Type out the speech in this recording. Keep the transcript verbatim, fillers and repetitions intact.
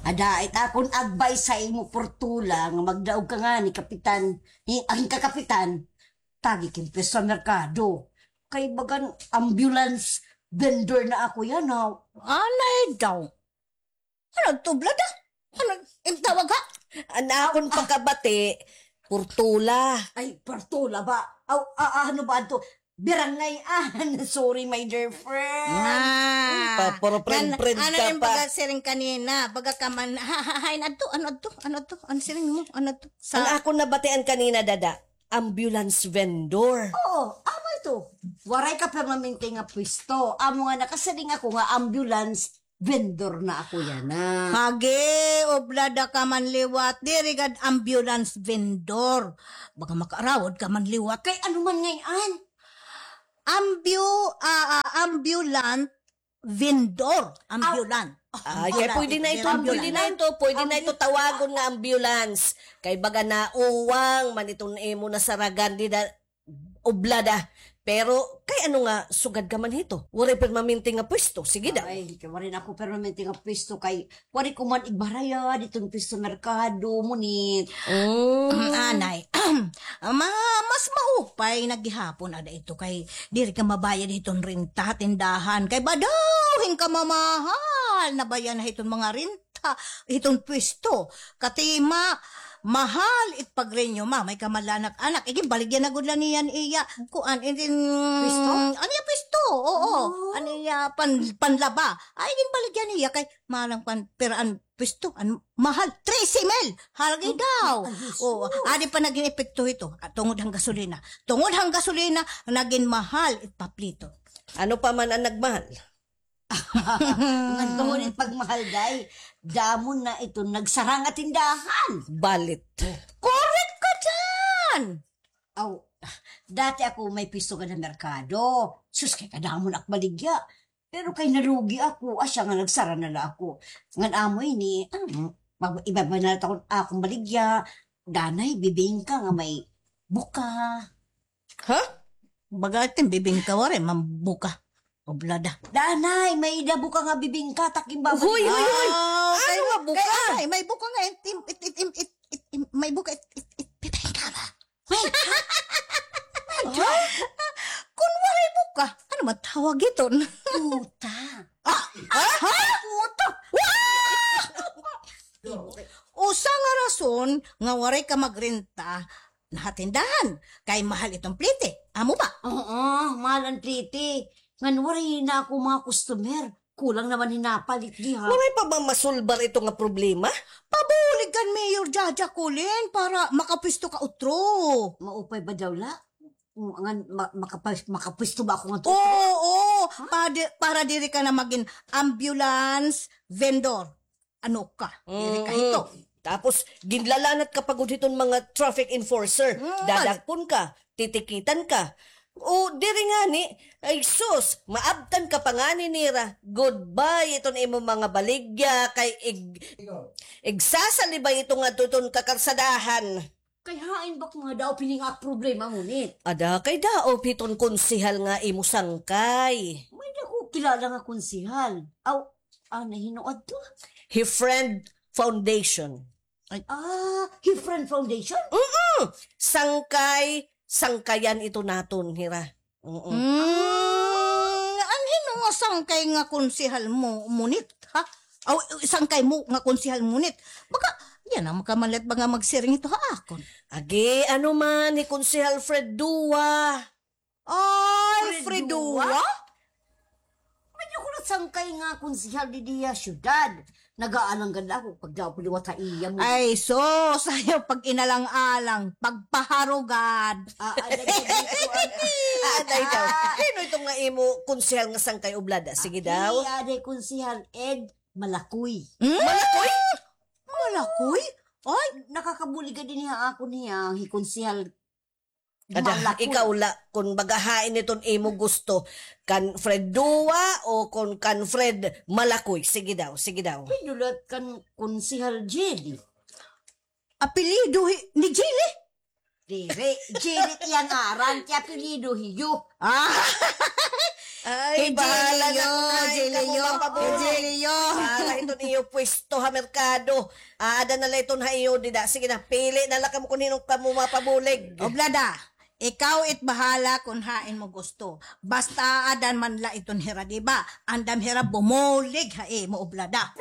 Ada it akon advice ha imo, Portola, nga magdaog ka ngani, kapitan, hi-, an kakapitan, tagi ka hin pwesto ha merkado. Kay bagan ambulance vendor na ako yana. Anay daw. Ano to, Blada? Ano im tawag, ha? An akon pakabati, Portola. Ay, Portola ba? Aw, a-, ano ba adto? Barangay, ah, sorry, my dear friend. Ah. Pa-, puro friend-friend ka pa. Ano im pagkasiring kanina? Baga ka man, ha, ha, hain adto, ano adto, ano adto, ano siring mo, ano adto? An akon nabatian kanina, dada, ambulance vendor. Oo, amo ito. Waray ka permanente nga pwesto. Amo nga nakasiring ako nga ambulance vendor na ako yana. Hagi, oblada ka man liwat, diri gad ambulance vendor. Baga makaarawod ka man liwat. Kay ano man ngay-an? Ambu-, ah, ah, ambulant vendor. Ambulant. Ay, kay pwede na ito, pwede na ito, pwede na ito tawagon nga ambulance. Kay baga nauwang man iton imo nasaragan dida, oblada. Pero, kay ano nga, sugad ka man hito? Waray permanente nga pwesto. Sige daw. Ay, kay waray na ako permanente nga pwesto. Kay, waray ko man igbarayad iton pwesto merkado, ngunit. Mm. Anay. Ma-, mas maupay na gihapon ada ito kay diri ka mabayad hiton renta ha tindahan. Kay badaw hin kamamahal na bayan na hiton mga renta. Ha, hiton pwesto. Katima, mahal it pagrenew, ma, may kamalanak anak. Iginbaligya na gud la niyan iya. Kuan, itin, pwesto? Ano iya pwesto? Oo. Oh. Ano iya pan-, panlaba? Ay, iginbaligya niya kay malang pan-, pera an pwesto, an mahal. Trese mil. Halagi daw. Ay, Jesus. Oo. Adi pa nagin epekto hito. Ah, tungod han gasolina. Tungod han gasolina, nagin mahal it paplito. Ano pa man an nagmahal? Ngan tungod it pagmahal, day, damo na ito nagsara nga tindahan. Balit. Correct ka dyan! Aw, dati ako may pwesto gad ha merkado. Sus, kay kadamo na ak baligya. Pero kay nalugi ako, asya nga nagsara na la ako. Ngan amo ini, ah, mag-, iba-iba na la akon, akon baligya. Danay, bibingka nga may buka. Ha? Baga itin bibingka, waray man buka. Oblada. Danay, may-ada buka nga bibingka, takim ba? Huy, huy, huy! Ah, ano nga buka? Kay, kay, may buka nga, it, it, may buka, it, it, it, bibingka ba? Wait. Ha? Kun waray buka, ano man tawag iton? Puta. Ah, ha? Puta. Usa nga rason nga waray ka magrenta ha tindahan, kay mahal iton plite. Amo ba? Oo, mahal an plite. Ngan waray na ako mga customer. Kulang naman hinapalit diha. Waray pa ba masulbar ito nga problema? Pabulig kan Mayor Jaja Colin para makapwesto ka utro. Maupay ba daw la? Ngan ma-, makapa-, makapwesto ba ako nga utro? Oo, oo. Ha? Para di-, para diri ka na magin ambulance vendor. Ano ka? Diri ka hito. Tapos, ginlalanat ka pa gud hiton mga traffic enforcer. Mm, dadakpon ka, titikitan ka. O, diri ngani, ay sus, maabtan ka pa ngani nira. Goodbye iton imo mga baligya, kay ig-, igsasalibay ito nga tuton kakarsadahan. Kay hain ba ko nga daop hini nga problema ngunit? Ada kay daop hiton konsehal nga imo sangkay. May-ada ko kilala nga konsehal. Aw, ah, nahino adto? Hi Friend Foundation. Ay. Ah, hi Friend Foundation? Mm-mm. Sangkay, sangkayan ito naton, hira. Oo. Mm, an hino nga sangkay nga konsehal mo, ngunit, ha? Aw, sangkay mo nga konsehal ngunit. Baka, yana, makamalit ba nga magsiring ito ha akon? Agi, ano man, hi Konsehal Fred Dua. Ay, Fred Dua? May-ada ko na sangkay nga konsehal didi ha syudad. Nag-aalang gad ako pag daw liwat ha iya mo. Ay, sus, ayaw pag-inalang-alang, pagpaharugad. Ah, aday ko dito, ah. Ah, aday daw. Hino ito nga imo konsehal nga sangkay oblada? Sige daw. Iya, aday konsehal Ed Malakoy. Hmm? Malakoy? Malakoy? Ay, nakakabulig ka din ha ako niya, hi konsehal Ada, ikaw la, kun baga hain iton imo gusto, kan Fred Dua o kun kan Fred Malakoy. Sige daw, sige daw. Pinulat kan Konsehal Jelly. Apelyido hi-, ni Jelly? Diri, Jelly iya ngaran, kay apelyido hiyo. Ah. Ay, bahala na, Jelly, Jelly, Jelly. Iton iyo pwesto ha merkado. Aada na la iton ha iyo dida. Sige na, pili na la kamo kon hin-o kamo mapabulig. Oblada, ikaw it bahala kon hain mo gusto. Basta aada man la iton hira, di ba? Andam hira bumulig ha imo, Oblada.